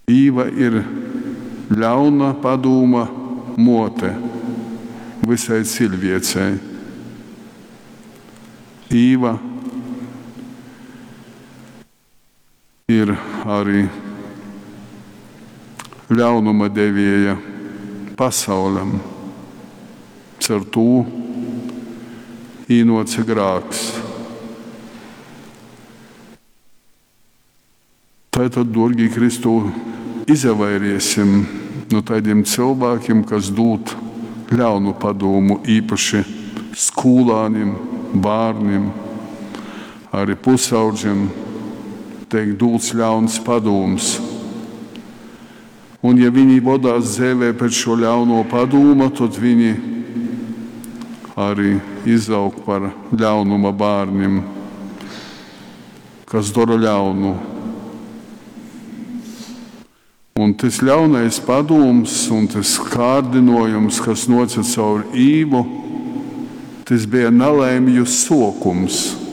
Īva ir ļauna padūma muote vysai ciļviecei. Īva ir ari ļaunuma devieja pasauļam. Caur tū īnuoce grāks. Tai tad, duorgī Kristū, izavairiesim nu taidim cylvākim, kas dūd ļaunu padūmu, īpaši skūlānim, bārnim, arī pusaudžim teik dūts ļauns padūms. Un ja viņi vodās dzeivē pēc šo ļauno padūma, tad viņi arī izaug par ļaunuma bērniem, kas dara ļaunu. Un tas ļaunais padūms un tas kārdinojums, kas noca caur Īvu, tas bija nalaimju sokums.